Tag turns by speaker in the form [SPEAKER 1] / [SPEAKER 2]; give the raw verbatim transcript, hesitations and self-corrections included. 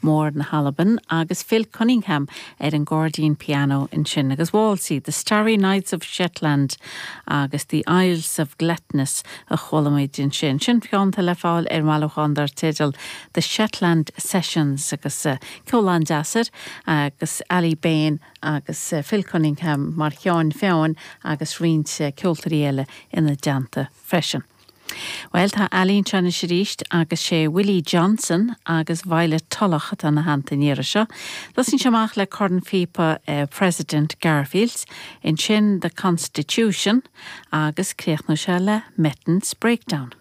[SPEAKER 1] Mór na hAlban agus Phil Cunningham ar an gcairdín piano ansin agus Whalsay, The Starry Nights of Shetland agus The Isles of Glettness a chuala muid ansin. Sin ceann atá le fáil ar bhailiúchán dar teideal The Shetland Sessions agus uh, ceol an-deas agus Ali Bain agus uh, Phil Cunningham mar cheann feadhain agus roinnt uh, ceoltóirí eile ina dteannta freisin. Well tá Ali anseo arís agus sé Willie Johnson agus Violet Tulloch atá ina theannta an iarraidh seo. Tosaíonn sé amach le cornphíopa uh, President Garfield, ansin the Constitution agus críochnóidh sé le Metton's Breakdown.